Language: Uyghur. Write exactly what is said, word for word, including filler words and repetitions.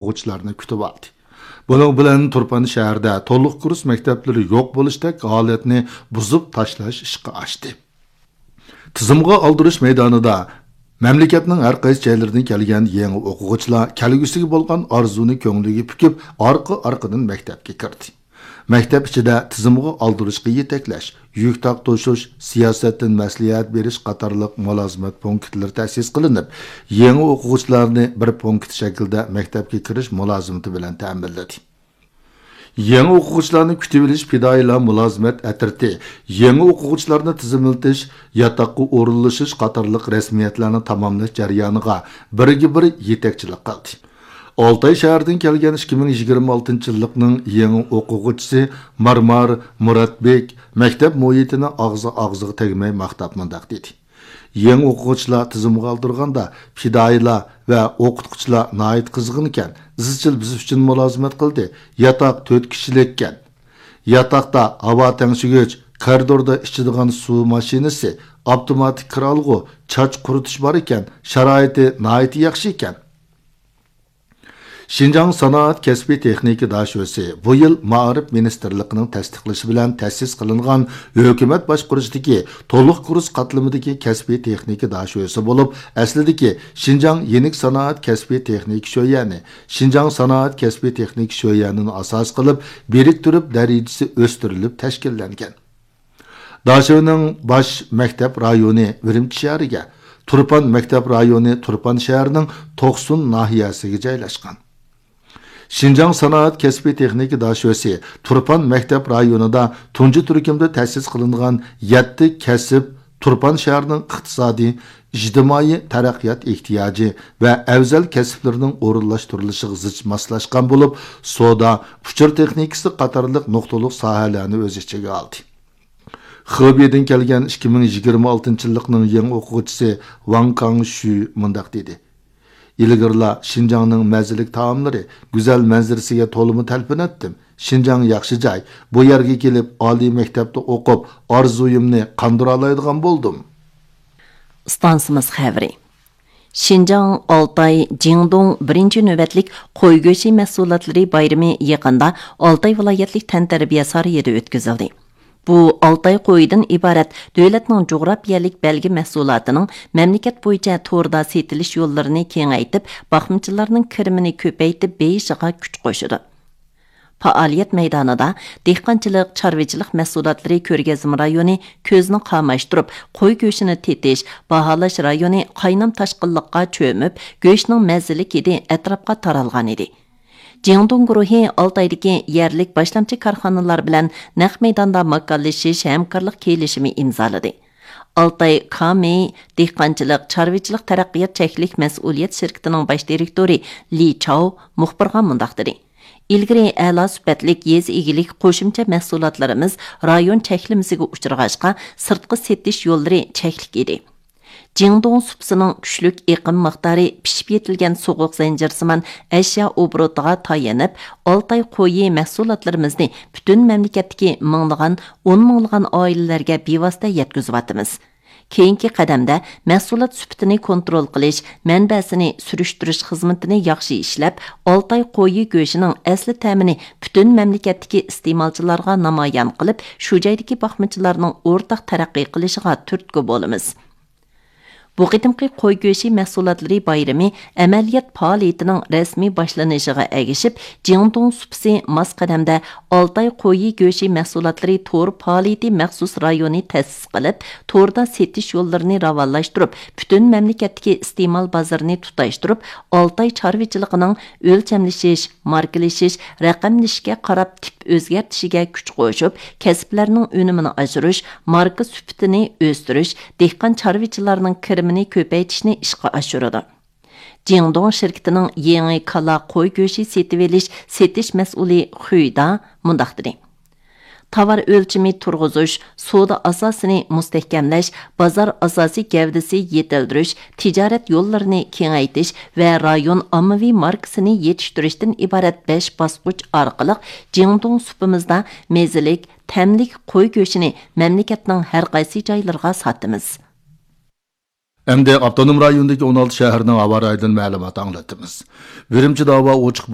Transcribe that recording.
ئوقۇغۇچىلارنى كۈتۈۋالدى. بۇنىڭ بىلەن تۇرپان شەھىرىدە تولۇق كۇرس مەكتەپلىرى يوق بولۇشتەك ھالەتنى بۇزۇپ تاشلاش ئىشقا ئاشتى. تىزىمغا ئالدۇرۇش مەيدانىدا مەملىكەتنىڭ ھەر قايسى جايلىرىدىن كەلگەن يېڭى ئوقۇغۇچىلار كەلگۈسىگە بولغان ئارزۇنى كۆڭلىگە پۈكۈپ، ئارقا-ئارقىدىن مەكتەپكە كىردى. مەكتەپ ئىچىدە تىزىمغا ئالدۇرۇشقا يېتەكلەش، يۈك تارتىشىش، سىياسەتتىن مەسلىھەت بېرىش قاتارلىق مۇلازىمەت پونكىتلىرى تەسىس قىلىنىپ، يېڭى ئوقۇغۇچىلارنى بىر پونكىت شەكلىدە مەكتەپكە كىرىش مۇلازىمىتى بىلەن تەمىنلىدى. يېڭى ئوقۇغۇچىلارنى كۈتۈۋېلىش پىدائىيلار مۇلازىمەت ئەترىتى، يېڭى ئوقۇغۇچىلارنى تىزىملىتىش، ياتاققا ئورۇنلىشىش قاتارلىق رەسمىيەتلەرنى تاماملاش جەريانىغا بىرگە بىر يېتەكچىلىك قىلدى. ئالتاي شەھىرىدىن كەلگەن ئىككى مىڭ يىگىرمە ئالتىنچى يىللىقنىڭ يېڭى ئوقۇغۇچىسى مارمار مۇراتبېك مەكتەپ مۇھىتىنى ئاغزى ئاغزىغا تەگمەي ماختاپ مۇنداق دېدى: يېڭى ئوقۇغۇچىلار تىزىمغا ئالدۇرغاندا، پىدائىيلار ۋە ئوقۇتقۇچىلار ناھايىتى قىزغىنكەن، ئىزچىل بىز ئۈچۈن مۇلازىمەت قىلدى. ياتاق تۆت كىشىلىككەن. ياتاقتا ھاۋا تەڭشىگۈچ، كارىدوردا ئىچىدىغان سۇ ماشىنىسى، ئاپتوماتىك كىر ئالغۇ، چاچ قۇرۇتۇش بار ئىكەن، شارائىتى ناھايىتى ياخشى ئىكەن. شىنجاڭ سانائەت كەسپىي تېخنىكا داشۆسى بۇ يىل مائارىپ مىنىستىرلىقىنىڭ تەستىقلىشى بىلەن تەسىس قىلىنغان ھۆكۈمەت باشقۇرۇشىدىكى تولۇق كۇرس قاتلىمىدىكى كەسپىي تېخنىكا داشۆسى بولۇپ، ئەسلىدىكى شىنجاڭ يېنىك سانائەت كەسپىي تېخنىكا شۆيەنى، شىنجاڭ سانائەت كەسپىي تېخنىكا شۆيەنىنى ئاساس قىلىپ، بىرىكتۈرۈپ دەرىجىسى ئۆستۈرۈلۈپ تەشكىللەنگەن. داشۆنىڭ باش مەكتەپ رايونى ئۈرۈمچى شەھىرىگە، تۇرپان مەكتەپ رايونى تۇرپان شەھىرىنىڭ توقسۇن ناھىيەسىگە جايلاشقان. شىنجاڭ سانائەت كەسپىي تېخنىكا داشۆسى تۇرپان مەكتەپ رايونىدا تۇنجى تۈركۈمدە تەسىس قىلىنغان يەتتە كەسىپ تۇرپان شەھىرىنىڭ ئىقتىسادىي، ئىجتىمائىي تەرەققىيات ئېھتىياجى ۋە ئەۋزەل كەسىپلىرىنىڭ ئورۇنلاشتۇرۇلۇشىغا زىچ ماسلاشقان بولۇپ، سودا، ئۇچۇر تېخنىكىسى قاتارلىق نۇقتىلىق ساھەلەرنى ئۆز ئىچىگە ئالدى. خېبېيدىن كەلگەن ئىككى مىڭ يىگىرمە ئالتىنچى يىللىقنىڭ يېڭى ئوقۇغۇچىسى ۋاڭ كاڭشۈ مۇنداق دېدى: ئىلگىرىلا شىنجاڭنىڭ مەززىلىك تائاملىرى، گۈزەل مەنزىرىسىگە تولىمۇ تەلپۈنەتتىم. شىنجاڭ ياخشى جاي. بۇ يەرگە كېلىپ، ئالىي مەكتەپتە ئوقۇپ، ئارزۇيۇمنى قاندۇرالايدىغان بولدۇم. ئىستانسىمىز خەۋىرى. شىنجاڭ، ئالتاي، جىڭدۇڭ بىرىنچى نۆۋەتلىك قوي گۆشى مەھسۇلاتلىرى بايرىمى يېقىندا ئالتاي ۋىلايەتلىك تەنتەربىيە سارىيىدا ئۆتكۈزۈلدى. بۇ ئالتاي قويىدىن ئىبارەت دۆلەتنىڭ جۇغراپىيەلىك بەلگە مەھسۇلاتىنىڭ مەملىكەت بويىچە توردا سېتىلىش يوللىرىنى كېڭەيتىپ، باقمىچىلارنىڭ كىرىمىنى كۆپەيتىپ بېيىشىغا كۈچ قوشىدۇ. پائالىيەت مەيدانىدا دېھقانچىلىق، چارۋىچىلىق مەھسۇلاتلىرى كۆرگەزمە رايونى كۆزنى قاماشتۇرۇپ، قوي گۆشىنى تېتىش، باھالاش رايونى قاينام تاشقىنلىققا چۆمۈپ، گۆشنىڭ مەززىلىك ھىدى ئەتراپقا تارالغانىدى. جىڭدۇڭ گۇرۇھى ئالتايدىكى يەرلىك باشلامچى كارخانىلار بىلەن نەق مەيداندا ماكانلىشىش ھەمكارلىق كېلىشىمى ئىمزالىدى. ئالتاي كامېي دېھقانچىلىق، چارۋىچىلىق تەرەققىيات چەكلىك مەسئۇلىيەت شىركىتىنىڭ باش دىرېكتورى لى چاۋ مۇخبىرغا مۇنداق دېدى: ئىلگىرى ئەلا سۈپەتلىك يېزا ئىگىلىك قوشۇمچە مەھسۇلاتلىرىمىز رايون چەكلىمىسىگە ئۇچرىغاچقا، سىرتقا سېتىش يوللىرى چەكلىك ئىدى. جىڭدۇڭ سۇپىسىنىڭ كۈچلۈك ئېقىم مىقدارى، پىشىپ يېتىلگەن سوغۇق زەنجىرسىمان ئەشيا ئوبوروتىغا تايىنىپ، ئالتاي قويى مەھسۇلاتلىرىمىزنى پۈتۈن مەملىكەتتىكى مىڭلىغان، ئون مىڭلىغان ئائىلىلەرگە بىۋاسىتە يەتكۈزۈۋاتىمىز. كېيىنكى قەدەمدە مەھسۇلات سۈپىتىنى كونترول قىلىش، مەنبەسىنى سۈرۈشتۈرۈش خىزمىتىنى ياخشى ئىشلەپ، ئالتاي قويى گۆشىنىڭ ئەسلى تەمىنى پۈتۈن مەملىكەتتىكى ئىستېمالچىلارغا نامايان قىلىپ، شۇ جايدىكى باقمىچىلارنىڭ ئورتاق تەرەققىي قىلىشىغا تۈرتكە بولىمىز. بۇ قېتىمقى قوي گۆشى مەھسۇلاتلىرى بايرىمى ئەمەلىيەت پائالىيىتىنىڭ رەسمىي باشلىنىشىغا ئەگىشىپ، جىڭدۇڭ سۇپىسى ماس قەدەمدە ئالتاي قويى گۆشى مەھسۇلاتلىرى تور پائالىيىتى مەخسۇس رايونى تەسىس قىلىپ، توردا سېتىش يوللىرىنى راۋانلاشتۇرۇپ، پۈتۈن مەملىكەتتىكى ئىستېمال بازىرىنى تۇتاشتۇرۇپ، ئالتاي چارۋىچىلىقىنىڭ ئۆلچەملىشىش، ماركىلىشىش، رەقەملىشىشكە قاراپ تىپ ئۆزگەرتىشىگە كۈچ قوشۇپ، كەسىپلەرنىڭ ئۈنۈمىنى ئاشۇرۇش، ماركا سۈپىتىنى ئۆستۈرۈش، دېھقان چارۋىچىلارنىڭ كىرىمىنى كۆپەيتىشنى ئىشقا ئاشۇرىدۇ. جىڭدۇڭ شىركىتىنىڭ يېڭى كالا قوي گۆشى سېتىۋېلىش سېتىش مەسئۇلى خۈيدا مۇنداق دېدى: تاۋار ئۆلچىمى تۇرغۇزۇش، سودا ئاساسىنى مۇستەھكەملەش، بازار ئاساسىي گەۋدىسى يېتىلدۈرۈش، تىجارەت يوللىرىنى كېڭەيتىش ۋە رايون ئاممىۋى ماركىسىنى يېتىشتۈرۈشتىن ئىبارەت بەش باسقۇچ ئارقىلىق جىڭدۇڭ سۇپىمىزدا مېزىلىك، تەملىك قوي گۆشىنى مەملىكەتنىڭ ھەر قايسى جايلىرىغا ساتىمىز. ئەمدى ئاپتونوم رايوندىكى ئون ئالتە شەھەرنىڭ ھاۋا رايىدىن مەلۇمات ئاڭلىتىمىز. ئۈرۈمچىدە ھاۋا ئوچۇق